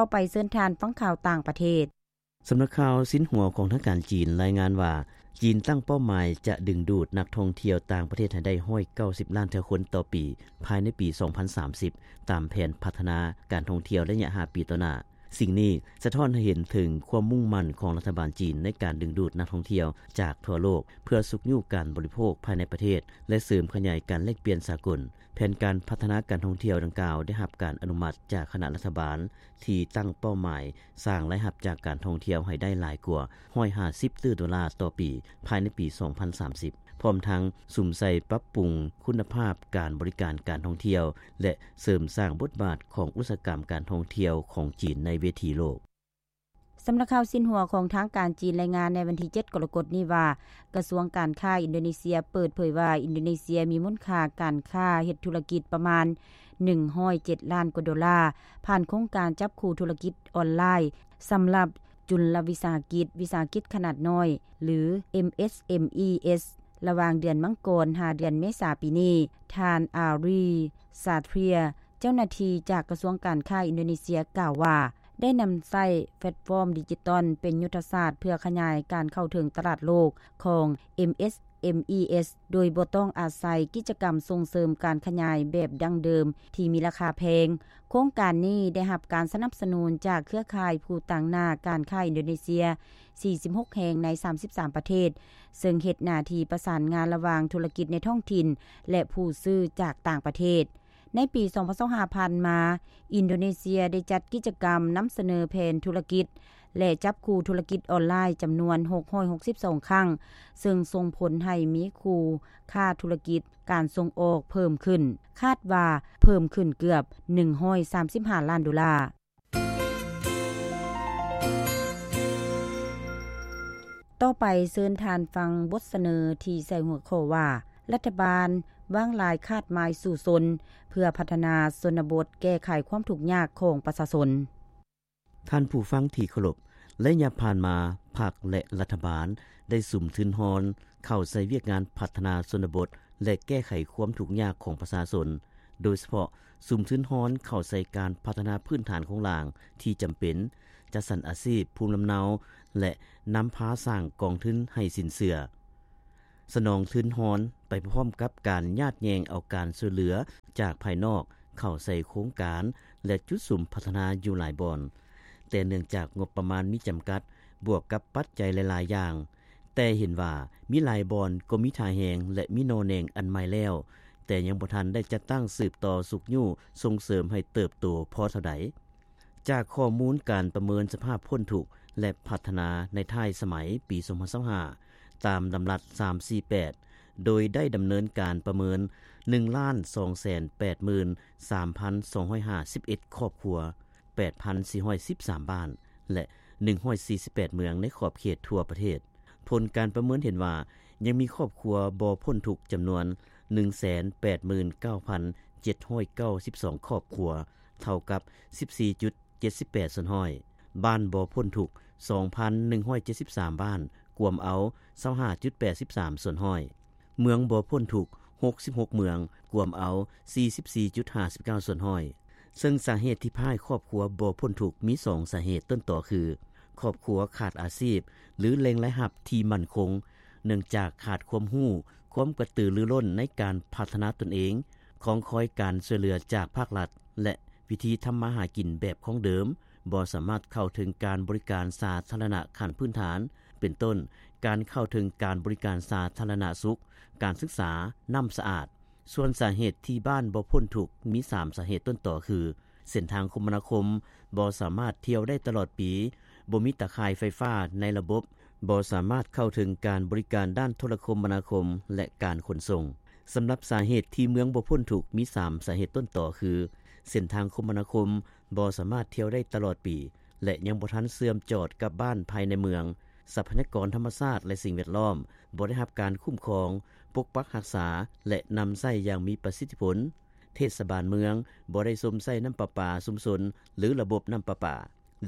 ຕໍ່ໄປເຊີນທ່ານຟັງຂ່າວຕ່າງປະເທດ. ສຳນັກຂ່າວຊິນຫົວຂອງທາງການຈີນລາຍງານວ່າ ຈີນຕັ້ງເປົ້າໝາຍຈະດຶງດູດນັກທ່ອງທ່ຽວຕ່າງປະເທດໃຫ້ໄດ້ ໜຶ່ງຮ້ອຍເກົ້າສິບລ້ານເທື່ອຄົນຕໍ່ປີ ພາຍໃນປີສອງພັນສາມສິບ ຕາມແຜນພັດທະນາການທ່ອງທ່ຽວໄລຍະຫ້າປີຕໍ່ໜ້າ. ສິ່ງນີ້ສະທ້ອນໃຫ້ເຫັນເຖິງຄວາມມຸ່ງໝັ້ນຂອງລັດຖະບານຈີນໃນການດຶງດູດນັກທ່ອງທ່ຽວຈາກທົ່ວໂລກ ເພື່ອຊຸກຍູ້ການບໍລິໂພກພາຍໃນປະເທດ ແລະ ເສີມຂະຫຍາຍການແລກປ່ຽນສາກົນ. ແຜນການພັດທະນາການທ່ອງທ່ຽວດັ່ງກ່າວໄດ້ຮັບການອະນຸມັດຈາກຄະນະລັດຖະບານ ທີ່ຕັ້ງເປົ້າໝາຍສ້າງລາຍຮັບຈາກການທ່ອງທ່ຽວໃຫ້ໄດ້ຫຼາຍກວ່າ ໜຶ່ງຮ້ອຍຫ້າສິບຕື້ໂດລາຕໍ່ປີ ພາຍໃນປີສອງພັນສາມສິບ ພ້ອມທັງສຸມໃສ່ປັບປຸງຄຸນນະພາບການບໍລິການການທ່ອງທ່ຽວ ແລະ ເສີມສ້າງບົດບາດຂອງອຸດສາຫະກຳການທ່ອງທ່ຽວຂອງຈີນໃນເວທີໂລກ. ສຳນັກຂ່າວຊິນຫົວຂອງທາງການຈີນລາຍງານໃນວັນທີເຈັດກໍລະກົດນີ້ວ່າ ກະຊວງການຄ້າອິນໂດເນເຊຍເປີດເຜີຍວ່າ ອິນໂດເນເຊຍມີມູນຄ່າການຄ້າເຮັດທຸລະກິດປະມານ ໜຶ່ງຮ້ອຍເຈັດລ້ານກວ່າໂດລາ ຜ່ານໂຄງການຈັບຄູ່ທຸລະກິດອອນລາຍ ສຳລັບຈຸນລະວິສາຫະກິດ, ວິສາຫະກິດຂະໜາດນ້ອຍ ຫຼື ເອັມເອສເອັມອີເອສ ລະຫວ່າງເດືອນມັງກອນຫາເດືອນເມສາປີນີ້. ທ່ານ ອາຣີ ຊາເທຍ ເຈົ້າໜ້າທີ່ຈາກກະຊວງການຄ້າອິນໂດເນເຊຍກ່າວວ່າ ໄດ້ນຳໃຊ້ແພລດຟອມດິຈິຕອນເປັນຍຸດທະສາດເພື່ອຂະຫຍາຍການເຂົ້າເຖິງຕະຫຼາດໂລກຂອງ ເອັມເອສເອັມອີເອສ ໂດຍບໍ່ຕ້ອງອາໄສກິດຈະກຳສົ່ງເສີມການຂະຫຍາຍແບບດັ້ງເດີມທີ່ມີລາຄາແພງ. ໂຄງການນີ້ໄດ້ຮັບການສະໜັບສະໜູນຈາກເຄືອຂ່າຍຜູ້ຕາງໜ້າການຄ້າອິນໂດເນເຊຍ ສີ່ສິບຫົກແຫ່ງໃນສາມສິບສາມປະເທດ, ເຊິ່ງເຮັດໜ້າທີ່ປະສານງານລະຫວ່າງທຸລະກິດໃນທ້ອງຖິ່ນ ແລະ ຜູ້ຊື້ຈາກຕ່າງປະເທດ. ໃນປີສອງພັນຊາວຫ້າຜ່ານມາ, ອິນໂດເນເຊຍໄດ້ຈັດກິດຈະກຳນຳສະເໜີແຜນທຸລະກິດ ແລະ ຈັບຄູ່ທຸລະກິດອອນລາຍຈຳນວນຫົກຮ້ອຍຫົກສິບສອງຄັ້ງ, ເຊິ່ງສົ່ງຜົນໃຫ້ມີຄູ່ຄ້າທຸລະກິດການສົ່ງອອກເພີ່ມຂຶ້ນ, ຄາດວ່າເພີ່ມຂຶ້ນເກືອບໜຶ່ງຮ້ອຍສາມສິບຫ້າລ້ານໂດລາ. ຕໍ່ໄປເຊີນທ່ານຟັງບົດສະເໜີທີ່ໃສ່ຫົວຂໍ້ວ່າ ລັດຖະບານວາງລາຍຄາດໝາຍສູ້ຊົນ ເພື່ອພັດທະນາຊົນນະບົດ ແກ້ໄຂຄວາມທຸກຍາກຂອງປະຊາຊົນ. ທ່ານຜູ້ຟັງທີ່ເຄົາລົບ, ໄລຍະຜ່ານມາ, ພັກ ແລະ ລັດຖະບານໄດ້ສຸມທຶນຮອນເຂົ້າໃສ່ວຽກງານພັດທະນາຊົນນະບົດ ແລະ ແກ້ໄຂຄວາມທຸກຍາກຂອງປະຊາຊົນ, ໂດຍສະເພາະສຸມທຶນຮອນເຂົ້າໃສ່ການພັດທະນາພື້ນຖານໂຄງລ່າງທີ່ຈຳເປັນ, ຈັດສັນອາຊີບ, ພູມລຳເນົາ ແລະ ນຳພາສ້າງກອງທຶນໃຫ້ສິນເຊື່ອ. ສະໜອງທຶນຮອນໄປພ້ອມກັບການຍາດແຍ່ງເອົາການຊ່ວຍເຫຼືອຈາກພາຍນອກເຂົ້າໃສ່ໂຄງການ ແລະ ຈຸດສຸມພັດທະນາຢູ່ຫຼາຍບ່ອນ, ແຕ່ເນື່ອງຈາກງົບປະມານມີຈຳກັດ ບວກກັບປັດໄຈຫຼາຍໆຢ່າງ, ແຕ່ເຫັນວ່າມີຫຼາຍບ່ອນກໍມີທ່າແຮງ ແລະ ມີໜໍ່ແໜງອັນໃໝ່ແລ້ວ, ແຕ່ຍັງບໍ່ທັນໄດ້ຈັດຕັ້ງສືບຕໍ່ຊຸກຍູ້ສົ່ງເສີມໃຫ້ເຕີບໂຕພໍເທົ່າໃດ. ຈາກຂໍ້ມູນການປະເມີນສະພາບພົ້ນທຸກ ແລະ ພັດທະນາໃນທ້າຍສະໄໝປີສອງພັນຊາວຫ້າ ຕາມດຳລັດສາມສີ່ແປດ ໂດຍໄດ້ດຳເນີນການປະເມີນ ໜຶ່ງລ້ານສອງແສນແປດໝື່ນສາມພັນສອງຮ້ອຍຫ້າສິບເອັດຄອບຄົວ, ແປດພັນສີ່ຮ້ອຍສິບສາມບ້ານ ແລະ ໜຶ່ງຮ້ອຍສີ່ສິບແປດເມືອງໃນຂອບເຂດທົ່ວປະເທດ. ຜົນການປະເມີນເຫັນວ່າ ຍັງມີຄອບຄົວບໍ່ພົ້ນທຸກຈຳນວນ ໜຶ່ງແສນແປດໝື່ນເກົ້າພັນເຈັດຮ້ອຍເກົ້າສິບສອງຄອບຄົວ, ເທົ່າກັບສິບສີ່ຈຸດເຈັດສິບແປດສ່ວນຮ້ອຍ, ບ້ານບໍ່ພົ້ນທຸກ ສອງພັນໜຶ່ງຮ້ອຍເຈັດສິບສາມບ້ານ, ກວມເອົາ ຊາວຫ້າຈຸດແປດສິບສາມສ່ວນຮ້ອຍ, ເມືອງບໍ່ພົ້ນທຸກ ຫົກສິບຫົກເມືອງ, ກວມເອົາ ສີ່ສິບສີ່ຈຸດຫ້າສິບເກົ້າສ່ວນຮ້ອຍ. ເຊິ່ງສາເຫດທີ່ພາໃຫ້ຄອບຄົວບໍ່ພົ້ນທຸກມີສອງສາເຫດຕົ້ນຕໍຄື ຄອບຄົວຂາດອາຊີບ ຫຼື ແຫຼ່ງລາຍຮັບທີ່ໝັ້ນຄົງ, ເນື່ອງຈາກຂາດຄວາມຮູ້, ຄວາມກະຕືລືລົ້ນໃນການພັດທະນາຕົນເອງ, ຄອງຄອຍການຊ່ວຍເຫຼືອຈາກພາກລັດ ແລະ ວິທີທຳມາຫາກິນແບບຂອງເດີມ, ບໍ່ສາມາດເຂົ້າເຖິງການບໍລິການສາທາລະນະຂັ້ນພື້ນຖານ, ເປັນຕົ້ນ ການເຂົ້າເຖິງການບໍລິການສາທາລະນະສຸກ, ການສຶກສາ, ນ້ຳສະອາດ. ສ່ວນສາເຫດທີ່ບ້ານບໍ່ພົ້ນທຸກມີສາມສາເຫດຕົ້ນຕໍຄື ເສັ້ນທາງຄົມມະນາຄົມບໍ່ສາມາດທ່ຽວໄດ້ຕະຫຼອດປີ, ບໍ່ມີຕາຂ່າຍໄຟຟ້າໃນລະບົບ, ບໍ່ສາມາດເຂົ້າເຖິງການບໍລິການດ້ານໂທລະຄົມມະນາຄົມ ແລະ ການຂົນສົ່ງ. ສຳລັບສາເຫດທີ່ເມືອງບໍ່ພົ້ນທຸກມີສາມສາເຫດຕົ້ນຕໍຄື ເສັ້ນທາງຄົມມະນາຄົມບໍ່ສາມາດທ່ຽວໄດ້ຕະຫຼອດປີ ແລະ ຍັງບໍ່ທັນເຊື່ອມຈອດກັບບ້ານພາຍໃນເມືອງ, ຊັບພະຍາກອນທຳມະຊາດ ແລະ ສິ່ງແວດລ້ອມບໍ່ໄດ້ຮັບການຄຸ້ມຄອງ, ປົກປັກຮັກສາ ແລະ ນຳໃຊ້ຢ່າງມີປະສິດທິຜົນ, ເທດສະບານເມືອງບໍ່ໄດ້ຊົມໃຊ້ນ້ຳປະປາຊຸມຊົນ ຫຼື ລະບົບນ້ຳປະປາ.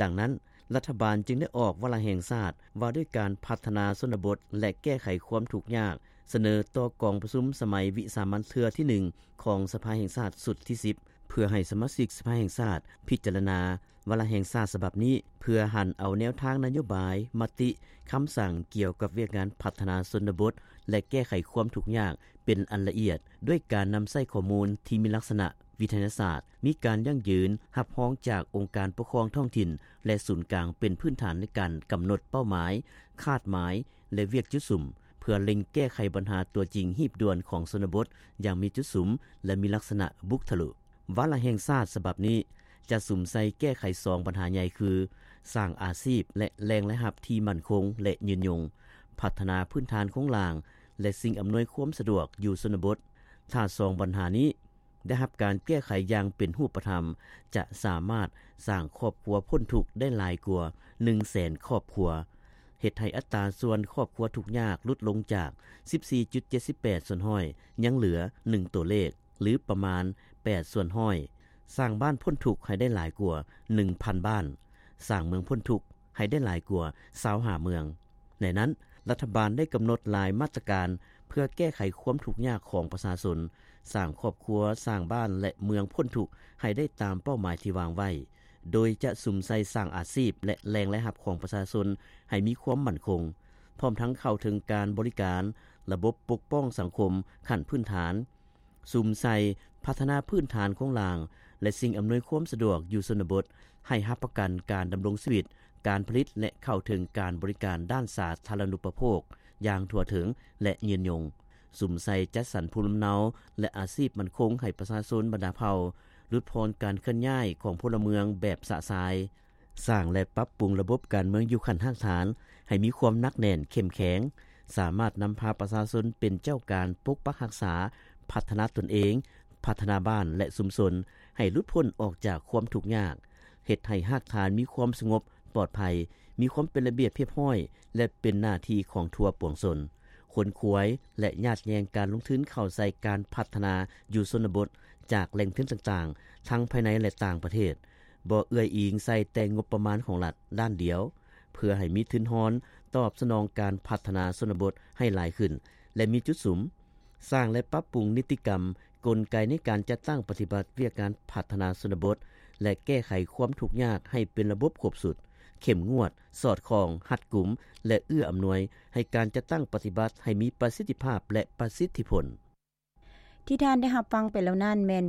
ດັ່ງນັ້ນ, ລັດຖະບານຈຶ່ງໄດ້ອອກວາລະແຫ່ງຊາດວ່າດ້ວຍການພັດທະນາຊົນນະບົດ ແລະ ແກ້ໄຂຄວາມທຸກຍາກ ສະເໜີຕໍ່ກອງປະຊຸມສະໄໝວິສາມັນເທື່ອທີໜຶ່ງຂອງສະພາແຫ່ງຊາດຊຸດທີສິບ ເພື່ອໃຫ້ສະມາຊິກສະພາແຫ່ງຊາດພິຈາລະນາ ວາລະແຫ່ງຊາດສະບັບນີ້ ເພື່ອຫັນເອົາແນວທາງນະໂຍບາຍ, ມະຕິ, ຄຳສັ່ງກ່ຽວກັບວຽກງານພັດທະນາຊົນນະບົດ ແລະ ແກ້ໄຂຄວາມທຸກຍາກເປັນອັນລະອຽດ ດ້ວຍການນຳໃຊ້ຂໍ້ມູນທີ່ມີລັກສະນະວິທະຍາສາດ, ມີການຢັ້ງຢືນຮັບຮອງຈາກອົງການປົກຄອງທ້ອງຖິ່ນ ແລະ ສູນກາງເປັນພື້ນຖານໃນການກຳນົດເປົ້າໝາຍ, ຄາດໝາຍ ແລະ ວຽກຈຸດສຸມ ເພື່ອເລັ່ງແກ້ໄຂບັນຫາຕົວຈິງຮີບດ່ວນຂອງຊົນນະບົດຢ່າງມີຈຸດສຸມ ແລະ ມີລັກສະນະບຸກທະລຸ. ວາລະແຫ່ງຊາດສະບັບນີ້ ຈະສຸມໃສ່ແກ້ໄຂສອງບັນຫາໃຫຍ່ຄື ສ້າງອາຊີບ ແລະ ແຫຼ່ງລາຍຮັບທີ່ໝັ້ນຄົງ ແລະ ຍືນຍົງ, ພັດທະນາພື້ນຖານໂຄງລ່າງ ແລະ ສິ່ງອຳນວຍຄວາມສະດວກຢູ່ຊົນນະບົດ. ຖ້າສອງບັນຫານີ້ໄດ້ຮັບການແກ້ໄຂຢ່າງເປັນຮູບປະທຳ ຈະສາມາດສ້າງຄອບຄົວພົ້ນທຸກໄດ້ຫຼາຍກວ່າໜຶ່ງແສນຄອບຄົວ, ເຮັດໃຫ້ອັດຕາສ່ວນຄອບຄົວທຸກຍາກຫຼຸດລົງຈາກສິບສີ່ຈຸດເຈັດສິບແປດສ່ວນຮ້ອຍ ຍັງເຫຼືອໜຶ່ງຕົວເລກ ຫຼື ປະມານແປດສ່ວນຮ້ອຍ, ສ້າງບ້ານພົ້ນທຸກໃຫ້ໄດ້ຫຼາຍກວ່າໜຶ່ງພັນບ້ານ, ສ້າງເມືອງພົ້ນທຸກໃຫ້ໄດ້ຫຼາຍກວ່າຊາວຫ້າເມືອງ. ໃນນັ້ນ, ລັດຖະບານໄດ້ກຳນົດຫຼາຍມາດຕະການເພື່ອແກ້ໄຂຄວາມທຸກຍາກຂອງປະຊາຊົນ, ສ້າງຄອບຄົວ, ສ້າງບ້ານ ແລະ ເມືອງພົ້ນທຸກໃຫ້ໄດ້ຕາມເປົ້າໝາຍທີ່ວາງໄວ້, ໂດຍຈະສຸມໃສ່ສ້າງອາຊີບ ແລະ ແຫຼ່ງລາຍຮັບຂອງປະຊາຊົນໃຫ້ມີຄວາມໝັ້ນຄົງ, ພ້ອມທັງເຂົ້າເຖິງການບໍລິການ, ລະບົບປົກປ້ອງສັງຄົມຂັ້ນພື້ນຖານ, ສຸມໃສ່ພັດທະນາພື້ນຖານໂຄງລ່າງ ແລະ ສິ່ງອຳນວຍຄວາມສະດວກຢູ່ຊົນນະບົດ ໃຫ້ຮັບປະກັນການດຳລົງຊີວິດ, ການຜະລິດ ແລະ ເຂົ້າເຖິງການບໍລິການດ້ານສາທາລະນູປະໂພກຢ່າງທົ່ວເຖິງ ແລະ ຍືນຍົງ, ສຸມໃສ່ຈັດສັນພູມລຳເນົາ ແລະ ອາຊີບໝັ້ນຄົງໃຫ້ປະຊາຊົນບັນດາເຜົ່າ, ຫຼຸດຜ່ອນການເຄື່ອນຍ້າຍຂອງພົນລະເມືອງແບບຊະຊາຍ, ສ້າງ ແລະ ປັບປຸງລະບົບການເມືອງຢູ່ຂັ້ນຮາກຖານໃຫ້ມີຄວາມໜັກແໜ້ນເຂັ້ມແຂງ, ສາມາດນຳພາປະຊາຊົນເປັນເຈົ້າການປົກປັກຮັກສາ, ພັດທະນາຕົນເອງ, ພັດທະນາບ້ານ ແລະ ຊຸມຊົນໃຫ້ຫຼຸດພົ້ນອອກຈາກຄວາມທຸກຍາກ, ເຮັດໃຫ້ຮາກຖານມີຄວາມສະຫງົບ, ປອດໄພ, ມີຄວາມເປັນລະບຽບຮຽບຮ້ອຍ ແລະ ເປັນໜ້າທີ່ຂອງທົ່ວປວງຊົນ, ຂົນຂວາຍ ແລະ ຍາດແຍ່ງການລົງທຶນເຂົ້າໃສ່ການພັດທະນາຢູ່ຊົນນະບົດຈາກແຫຼ່ງທຶນຕ່າງໆ ທັງພາຍໃນ ແລະ ຕ່າງປະເທດ, ບໍ່ເອື້ອຍອີງໃສ່ແຕ່ງົບປະມານຂອງລັດດ້ານດຽວ, ເພື່ອໃຫ້ມີທຶນຮອນຕອບສະໜອງການພັດທະນາຊົນນະບົດໃຫ້ຫຼາຍຂຶ້ນ ແລະ ມີຈຸດສຸມ, ສ້າງ ແລະ ປັບປຸງນິຕິກຳ, ກົນໄກໃນການຈັດຕັ້ງປະຕິບັດວຽກງານພັດທະນາຊົນນະບົດ ແລະ ແກ້ໄຂຄວາມທຸກຍາກໃຫ້ເປັນລະບົບຄົບຊຸດ, ເຂັ້ມງວດ, ສອດຄ່ອງ, ຮັດກຸມ ແລະ ເອື້ອອຳນວຍໃຫ້ການຈັດຕັ້ງປະຕິບັດໃຫ້ມີປະສິດທິພາບ ແລະ ປະສິດທິຜົນ. ທີ່ທ່ານໄດ້ຮັບຟັງໄປແລ້ວນັ້ນແມ່ນ